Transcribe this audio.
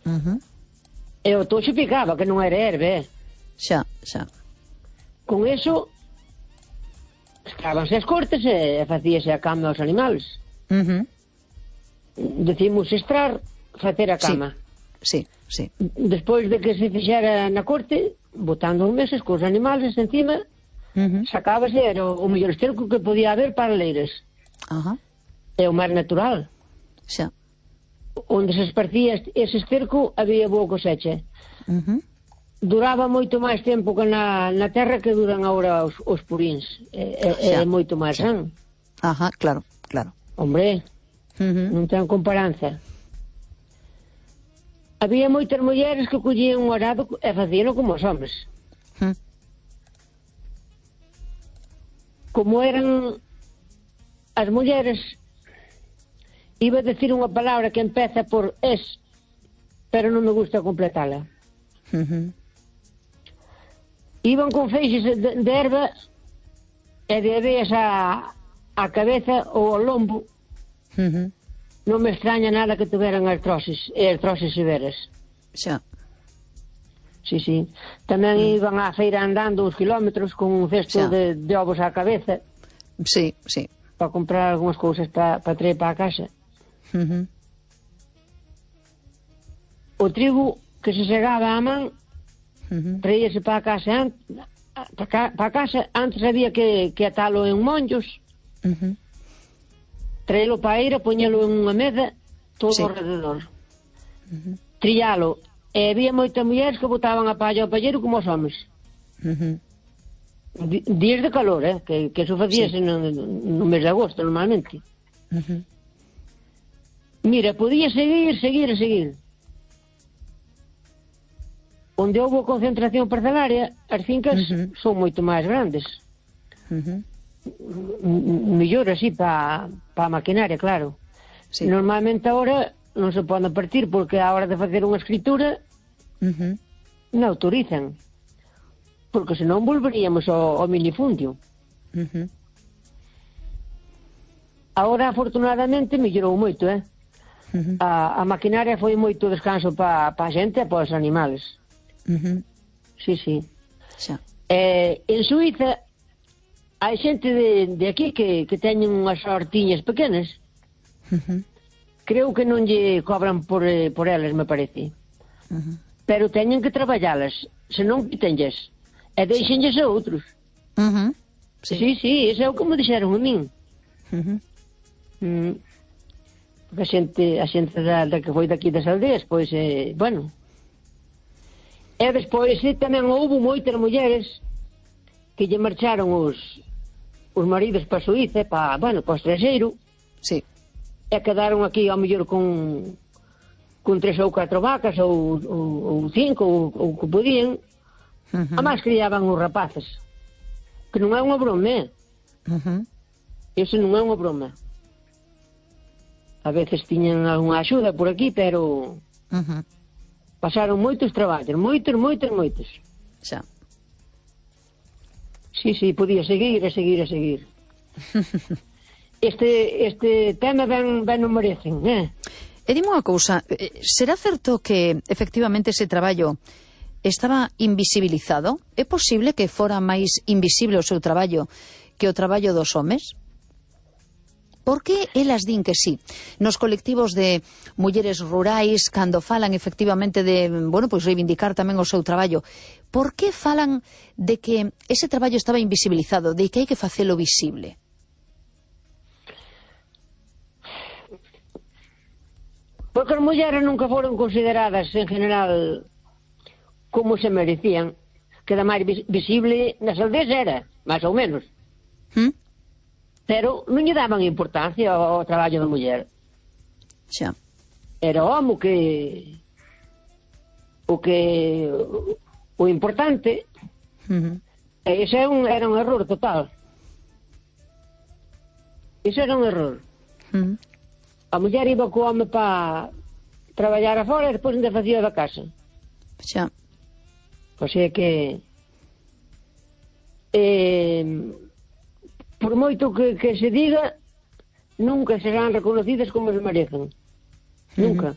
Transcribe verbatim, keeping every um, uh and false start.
Uh-huh. E o toxo picaba, que non era herbe, eh. Xa, xa. Con eso, escrábanse as cortes e facíase a cama aos animales. Uh-huh. Decimos estrar, facer a cama. Sí, sí. Despois de que se fixera na corte, botando os meses cos animales encima, Uh-huh. sacábase, era o, o mellor esterco que podía haber para leiras. Ajá. É o máis natural. Xa. Onde se esparcía ese esterco, había boa cosecha. Uh-huh. Duraba moito máis tempo que na, na terra que duran agora os, os purins. É, é, é moito máis san. Ajá, claro, claro. Hombre, Uh-huh. non ten comparanza. Había moitas mulleres que collían un arado e facían como os homes. Uh-huh. Como eran as mulleres, iba a decir unha palabra que empeza por es, pero non me gusta completala. Uh-huh. Iban con feixes de, de erva e de aveas a, a cabeza ou ao lombo. Uh-huh. Non me extraña nada que tuveran artrosis, e artrosis severas. Xa. Sí, sí. Tamén Mm. iban á feira andando uns kilómetros con un cesto Xa. de, de ovos á cabeza Sí, sí. para comprar algunhas cousas para pa traer para a casa. Uh-huh. O trigo que se segaba á man Uh-huh. traíase para a casa an- para, ca, para a casa, antes había que, que atalo en monllos, Uh-huh. traelo para a eira, poñelo en unha mesa todo Sí. alrededor, trillalo, e había moitas mulleres que botaban a palla ao palleiro como os homes. Uh-huh. Di- días de calor, eh? que, que eso facíase Sí. no, no mes de agosto normalmente. Uh-huh. Mira, podía seguir, seguir e seguir. Onde houve concentración parcelaria, as fincas Ujú. son moito máis grandes. Uh-huh. M- mellor así para pa a maquinaria, claro. Sí. Normalmente agora non se pode partir porque a hora de facer unha escritura Uh-huh. non autorizan. Porque senón volveríamos ao, ao minifundio. Uh-huh. Agora, afortunadamente, mellorou moito, eh? Uh-huh. A, a maquinaria foi moito descanso para pa a xente e para os animales. Uh-huh. Sí, sí. Xa. Eh, en Suiza hai xente de, de aquí que, que teñen unhas hortiñas pequenas. Uh-huh. Creo que non lle cobran por, eh, por elas, me parece. Uh-huh. Pero teñen que traballalas, senón quítenlles. E deixenlles a outros. Uh-huh. Sí, sí, sí, iso é o que me dixeron a min. Uh-huh. Mm. Porque a xente, a xente da, da que foi daqui das aldeas, pois, eh, bueno. E despois eh, tamén houve moitas mulleres que lle marcharon os, os maridos para Suíza, para, bueno, para o estranxeiro, Sí. e quedaron aquí ao mellor con con tres ou catro vacas ou, ou, ou cinco ou, ou que podían. Uh-huh. A máis criaban os rapaces, que non é unha broma, eh? Uh-huh. Iso non é unha broma. A veces tiñan algunha axuda por aquí, pero Uh-huh. pasaron moitos traballos, moitos, moitos, moitos. Xa. Sí, sí, podía seguir e seguir e seguir. Este, este tema ben, ben non merecen, eh? E dime unha cousa, eh, será certo que efectivamente ese traballo estaba invisibilizado? É posible que fora máis invisible o seu traballo que o traballo dos homes? Por que elas din que sí? Nos colectivos de mulleres rurais, cando falan efectivamente de, bueno, pois reivindicar tamén o seu traballo, por que falan de que ese traballo estaba invisibilizado, de que hai que facelo visible? Porque as mulleres nunca foron consideradas en general como se merecían. Queda máis vis visible nas aldeas era, máis ou menos. ¿Mm? Pero non lle daban importancia ao, ao traballo da muller. Xa. Era o home que o que o importante. Uh-huh. E ese era un, era un error total. Ese era un error. Uh-huh. A muller iba co home para traballar afora e depois ainda facía da casa. Xa. O sea que eh, por moito que, que se diga, nunca serán reconocidas como se merecen. Nunca.